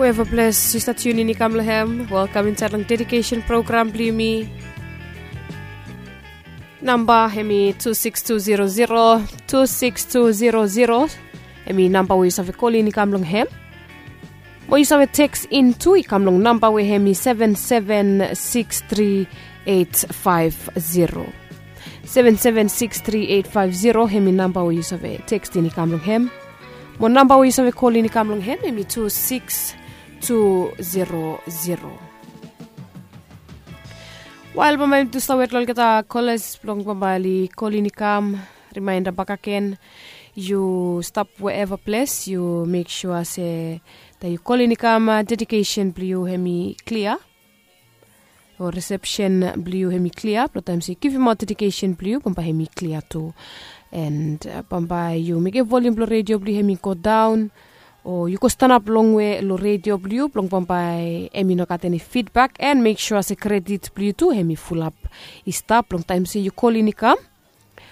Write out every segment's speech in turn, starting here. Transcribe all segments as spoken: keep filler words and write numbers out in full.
Whoever bless, yu stap tiunin i kam long hem. Welkam insaed long dedikesen program blong yumi. Namba hem i tu sikis tu zero zero, tu sikis tu zero zero. Hem i namba we yu save kolin i kam long hem. Mo yu save teks in tu i kam long namba we hem i seven seven six three eight five zero. Seven seven six three eight five zero hem i namba we yu save tekstin i kam long hem. Mo namba we yu save kolin i kam long hem hem i tu sikis tu zero zero. Wael bambae yumi tu stap wet long olgeta kolas blong bambae oli kolin i kam. Rimaenda bakagen, yu stap wherever ples, yu mek sua se taem yu kolin i kam, dedikesen blong yu hem i klia, o risepsen blong yu hem i klia blong taem se yu givimaot dedikesen blong yu bambae hem i klia tu. And bambae yu mekem volium blong redio blong yu hem i godaon, o yu go stanap longwe long redio blong yu blong bambae hem i no gat eni fidbak, and mek sua se kredit blong yu tu hem i fulap i stap long taem se yu kolin i kam.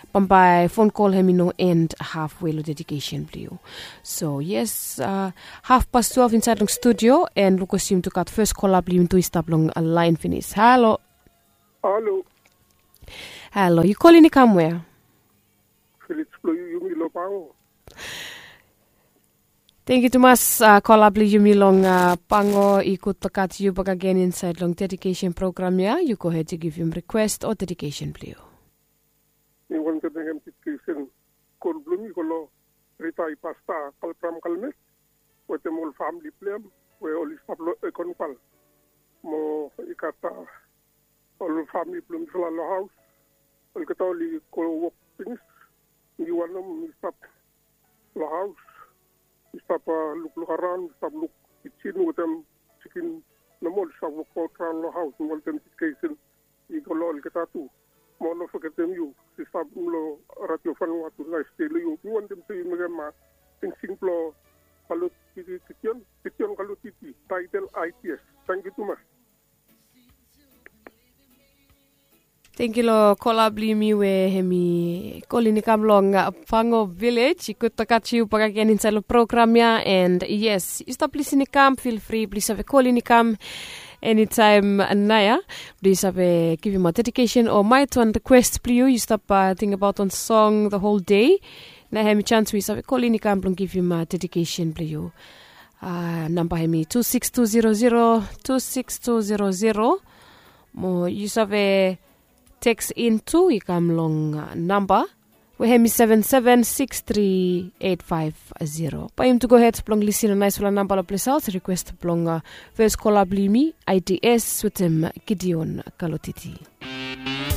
Bambae fon kol hem i no end hafwe long dedikesen blong yu. So yes, hafpas twelve insaed long studio, and lukus yumi tu gat fes kola blong yumi tu i stap long laen finis. Halo. Halo. Halo, yu kolin i kam wea? Filis blong yu, yumi long Pango. Tengkiu tumas, kola blong yumi long Pango i gud blong gat yu bakagen insaed long dedikesen program ya. Yu gohed yu givim rikwes o dedikesen blong yu. Mi wantem mekem dedikesen. Kol blong mi i go long ritae pasta Kalbram Kalmes wetem ol famle blong hem we oli stap long Ekonpal. Mo i gat ol famle blong mifala long haos. Olgeta oli go wok finis. Mi wanem mi stap long haos. Mi stap lukluk araon, mi stap luk kijin wetem jikin. Nomo oli stap wokbaot raon long haos. Mi wantem dedikesen i go long olgeta tu. Mo no fogetem yu, sista blong Radio Vanuatu, naes dei long yu. Mi wantem se yu mekem singsing blong Kalotiti Gideon, Gideon Kalotiti, taetel Ideas. Tangkiu tumas. Tangkiu long kola blong yumi we hem i kolin i kam long Pango Vilej. I gud blong gat yu bakagen insaed long program ya. And yes, yu stap lisin i kam, fil fri blong yu save kolin i kam enitaem naoia blong yu save givimaot dedikesen o maet wan rikwes blong yu. Yu stap tingbaot wan song the whole day, naoia hem i jans we yu save kolin i kam blong givim dedikesen blong yu. Namba hem i tu sikis tu zero zero, tu sikis tu zero zero. Mo yu save teks in tu i kam long namba we hem i seven seven six three eight five zero. Bae yumi tu gohed blong lisin long naesfala namba long ples aot, rikwes blong fes kola blong yumi, Ideas wetem Gideon Kalotiti.